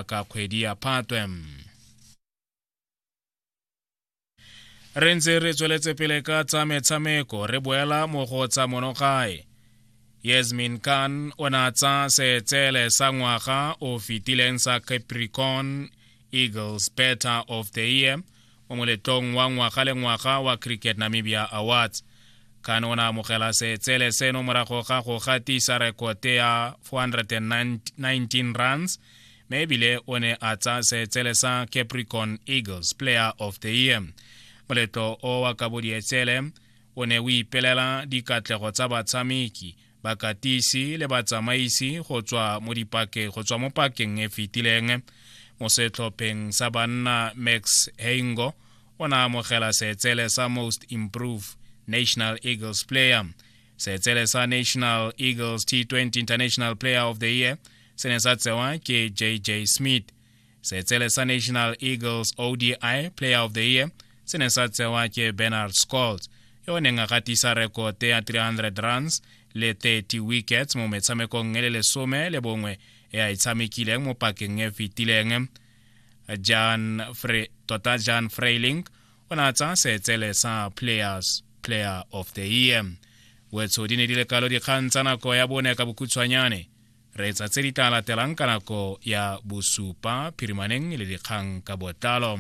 Ka kgwedi ya Phatwe. Re ntse re tsweletse pele ka tsa metshameko, re boela mo go tsa monogae. Yasmin Khan o ne a tsaya seetsele sa ngwaga o fetileng sa Capricorn Eagles Better of the Year mo moletlong wa ngwaga le ngwaga wa Cricket Namibia Awards. Khan o ne a amogela seetsele seno morago ga go gatisa rekote ya 419 runs, mme ebile o ne a tsaya seetsele sa Capricorn Eagles Player of the Year. Moletlo o wa kabo dietsele o ne o ipelela dikatlego tsa batshameki, bakatisi le batsamaisi go tswa mo dipake go tswa mo pakeng e fetileng. Mo setlhopheng sa banna, Max Heingo o ne a amogela seetsele sa Most Improved National Eagles Player. Seetsele sa National Eagles T20 International Player of the Year se ne sa tsewa ke JJ Smith. Seetsele sa National Eagles ODI Player of the Year se ne sa tsewa ke Bernard Scholtz, yo o neng a gatisa rekote ya 300 runs le 30 wickets mo metshamekong e le lesome le bongwe e a e tshamekileng mo pakeng e fetileng. Jan Fre, tota Jan Freiling o ne a tsaya seetsele sa Players Player of the Year. Wetsho di ne di le kalo dikgang tsa nako ya bone ka bokhutshwanyane. Reetsa tse di tla latelang ka nako ya bosupa phirimaneng le dikgang ka botlalo.